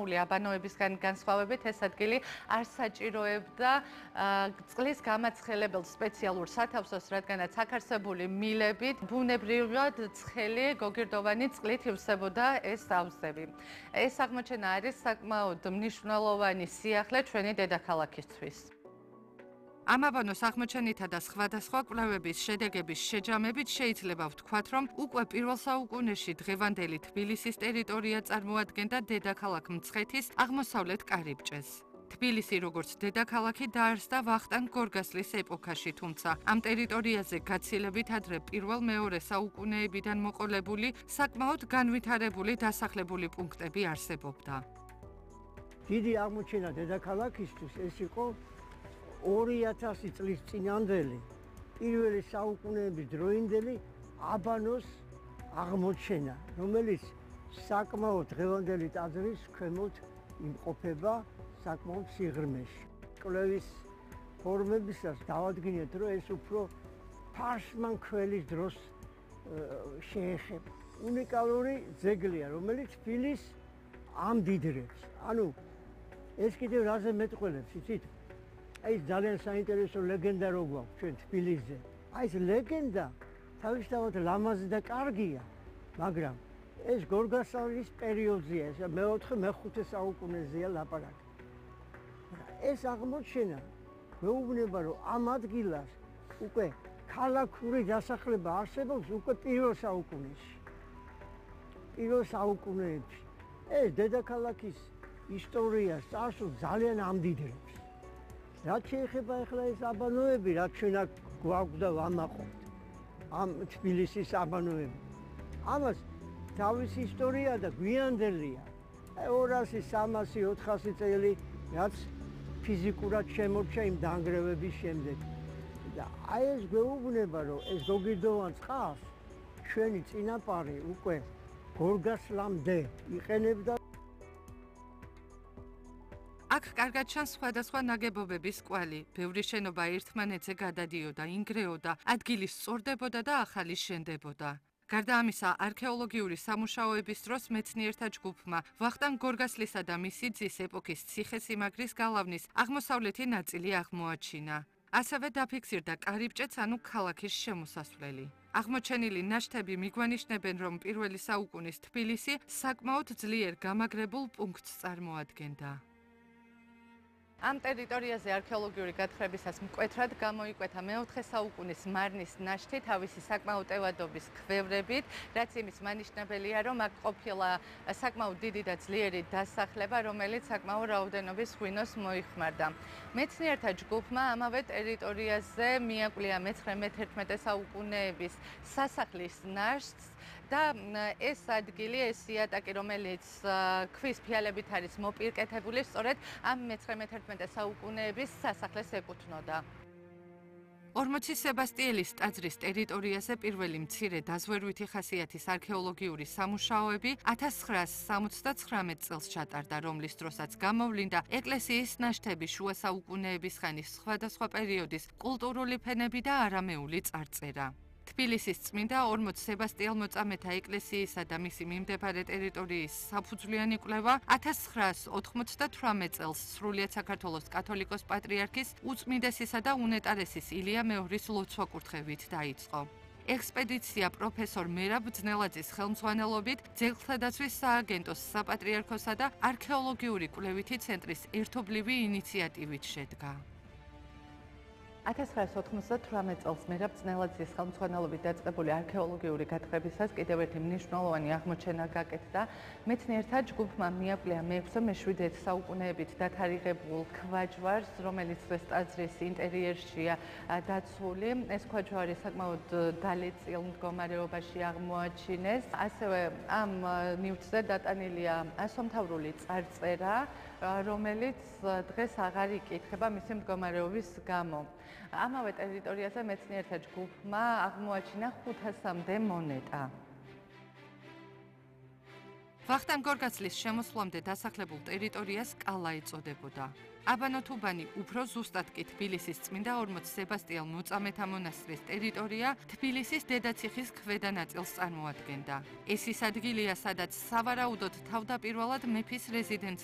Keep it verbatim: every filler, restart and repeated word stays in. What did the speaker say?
გარდამაული აბანოებისგან განსხვავებით ეს ადგილი არ საჭიროებდა წყლის გამაცხელებელ სპეციალურ სათავსოს, რადგანაც აქ არსებული მილებით ბუნებრივად ცხელი გოგირდოვანი წყლით ივსებოდა ეს აუზები. ეს აღმოჩენა არის საკმაოდ მნიშვნელოვანი სიახლე ჩვენი დედაქალაქისთვის. ამ აბანოს აღმოჩენითა და სხვადასხვა კვლევების შედეგების შეჯამებით შეიძლება ვთქვათ, რომ უკვე პირველ საუკუნეში დღევანდელი თბილისის ტერიტორია წარმოადგენდა დედაქალაქ მცხეთის აღმოსავლეთ კარიბჭეს. თბილისი როგორც დედაქალაქი დაარსდა ვახტანგ გორგასლის ეპოქაში, თუმცა ამ ტერიტორიაზე გაცილებით ადრე პირველ-მეორე საუკუნეებიდან მოყოლებული საკმაოდ განვითარებული დასახლებული პუნქტები არსებობდა. დიდი აღმოჩენა დედაქალაქისთვის ეს იყო ორი ათასი წლის წინანდელი პირველი საუკუნეების დროინდელი აბანოს აღმოჩენა, რომელიც საკმაოდ დღევანდელი ტაძრის ქვემოთ იმყოფება საკმაოდ სიღრმეში. კვლევის ფორმებისას დავადგინეთ, რომ ეს უფრო ფარსმან ქველის დროს შეეხება. უნიკალური ძეგლია, რომელიც თბილისს ამდიდრებს. ანუ ეს კიდევ რაზე მეტყველებს, იცით? ეს ძალიან საინტერესო ლეგენდა რო გვაქვს ჩვენ თბილისზე. აი ეს ლეგენდა თავისთავად ლამაზი და კარგია, მაგრამ ეს გორგასალის პერიოდზეა, ეს მეოთხე მეხუთე საუკუნეზეა ლაპარაკი. ეს აღმოჩენა მეუბნება, რომ ამ ადგილას უკვე ქალაქური დასახლება არსებობს უკვე პირველ საუკუნეში. პირველ საუკუნეებში ეს დედაქალაქის ისტორიას წარსულს ძალიან ამდიდრებს. რაც შეეხება ახლა ეს აბანოები, რაც ჩვენ აქ გვაქვს და ვამაყობთ, ამ თბილისის აბანოები. ამას თავისი ისტორია და გვიანდელია. ორასი, სამასი, ოთხასი წელი, რაც ფიზიკურად შემორჩა იმ დანგრევების შემდეგ. და აი ეს გვეუბნება, რომ ეს გოგირდოვან წყალს ჩვენი წინაპარი უკვე გორგასლამდე იყენებდა. აქ კარგად ჩანს სხვადასხვა ნაგებობების კვალი, ბევრი შენობა ერთმანეთზე გადადიოდა, ინგრეოდა, ადგილი სწორდებოდა და ახალი შენდებოდა. გარდა ამისა, არქეოლოგიური სამუშაოების დროს მეცნიერთა ჯგუფმა ვახტანგ გორგასლისა და მისი ძის ეპოქის ციხესიმაგრის გალავნის აღმოსავლეთი ნაწილი აღმოაჩინა. ასევე დაფიქსირდა კარიბჭეც, ანუ ქალაქის შემოსასვლელი. აღმოჩენილი ნაშთები მიგვანიშნებენ, რომ პირველი საუკუნის თბილისი საკმაოდ ძლიერ გამაგრებულ პუნქტს წარმოადგენდა. ამ ტერიტორიაზე არქეოლოგიური გათხრებისას მკვეთრად გამოიკვეთა მეოთხე საუკუნის მარნის ნაშთი თავისი საკმაოდ ტევადობის ქვევრებით, რაც იმის მანიშნებელია, რომ აქ ყოფილა საკმაოდ დიდი და ძლიერი დასახლება, რომელიც საკმაოდ რაოდენობის ღვინოს მოიხმარდა. მეცნიერთა ჯგუფმა ამავე ტერიტორიაზე მიაკვლია მეცხრე-მეთერთმეტე საუკუნეების სასახლის ნაშთს და ეს ადგილი, ეს იატაკი, რომელიც ქვის ფილებით არის მოპირკეთებული, სწორედ ამ მეცხრე-მეთერთმეტე საუკუნეების სასახლეს ეკუთვნოდა. ორმოცი სებასტიელის ტაძრის ტერიტორიაზე პირველი მცირე დაზვერვითი ხასიათის არქეოლოგიური სამუშაოები ათას ცხრაასი სამოცდაცხრამეტ წელს ჩატარდა, რომლის დროსაც გამოვლინდა ეკლესიის ნაშთები შუა საუკუნეების ხანის სხვადასხვა პერიოდის კულტურული ფენები და არამეული წარწერა. თბილისის წმინდა ორმოც სებასტიელმოწამეთა ეკლესიისა და მისი მიმდებარე ტერიტორიის საფუძვლიანი კვლევა ათას ცხრაასი ოთხმოცდათვრამეტ წელს სრულიად საქართველოს კათოლიკოს პატრიარქის უწმინდესისა და უნეტარესის ილია მეორის ლოცვა-კურთხევით დაიწყო. ექსპედიცია პროფესორ მერაბ ძნელაძის ხელმძღვანელობით ძეგლთა დაცვის სააგენტოს, საპატრიარქოსა და არქეოლოგიური კვლევითი ცენტრის ერთობლივი ინიციატივით შედგა. ათას ცხრაასი ოთხმოცდათვრამეტ წელს მერაბ ძნელაძის ხელმძღვანელობით დაწყებული არქეოლოგიური გათხრებისას კიდევ ერთი მნიშვნელოვანი აღმოჩენა გაკეთდა. მეცნიერთა ჯგუფმა მიაკვლია მეექვსე მეშვიდე საუკუნეებით დათარიღებულ ქვაჯვარს, რომელიც დღეს ტაძრის ინტერიერშია დაცული. ეს ქვაჯვარი საკმაოდ დალეწილ მდგომარეობაში აღმოაჩინეს. ასევე ამ ნივთზე დატანილია ასომთავრული წარწერა, რომელიც დღეს აღარ იკითხება მისი მდგომარეობის გამო. ამავე ტერიტორიაზე მეცნიერთა ჯგუფმა აღმოაჩინა ხუთასამდე მონეტა. ვახტანგ გორგასლის შემოსვლამდე დასახლებულ ტერიტორიას კალა ეწოდებოდა. აბანო-თუბანი უფრო ზუსტად კი თბილისის წმინდა ორმოც სებასტიელ მოწამეთა მონასტრის ტერიტორია თბილისის დედაციხის ქვედა ნაწილს წარმოადგენდა. ეს ის ადგილია, სადაც სავარაუდოდ თავდაპირველად მეფის რეზიდენცია